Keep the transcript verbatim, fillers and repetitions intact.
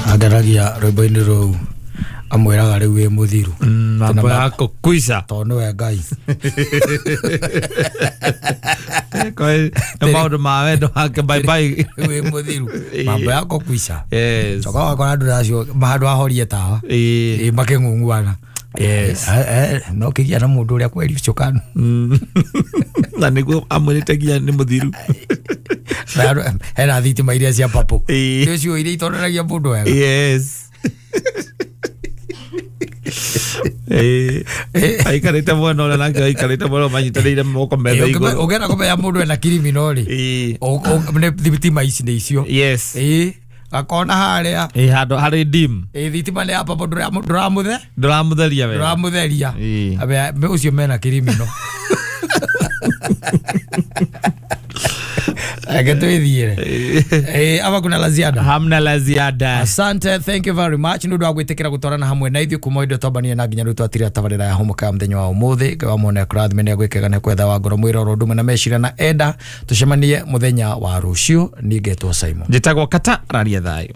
Ageragia rwĩmbo-inĩ rũu amwĩraga rĩu wĩ mũthiru. Mambo yako kwisha. Tondũ nĩwe Ngai. Nĩ maũndũ ma wendo wake bye bye. Wĩ mũthiru. Mambo yako kwisha. Yes. Coka wakora andũ acio handũ ahorie tawa. Ĩĩ. Makĩng'ung'uana. Yes. No kĩgĩa na mũndũ ũrĩa kweri ũcio kanu. Na nĩguo amwĩrĩte nginya nĩ mũthiru. Hena thitima iria cia papũ. Ĩĩ. Nĩcio iria itonanagia mũndũ wega. Yes. Eh, aikarĩte mwena ũrĩa nake aikarĩte mwena manyitanĩire moko metha igũrũ. Ũngĩenda kũmenya mũndũ ena criminal rĩ, Ĩĩ. nĩ thitima ici nĩ icio. Yes. Ĩĩ. Gakona harĩa. Ĩĩ handũ harĩ dim. Ĩĩ thitima nĩ ya papũ ndũramũthe? Ndũramũtheria wega. Ndũramũtheria. Ĩĩ. Ũcio mena criminal. Reke twĩthiĩre. Eh, ama kuna la ziada? Hamna la ziada. Asante, thank you very much. Nĩ ũndũ wa gwĩtĩkĩra gũtwarana hamwe na ithuĩ kuma indo twambanie na nginya rĩu twatira tabarĩra ya Hũmũka ya mũthenya wa ũmũthĩ. Ngai wa muone akũrathime nĩ agwĩkega na kwetha wa ngoro mwĩra oro ũndũ na meciria na enda. Tũcemanie mũthenya wa rũciũ. Niĩ ngetwo Simon. Njĩtagwo Kata Raria thayũ.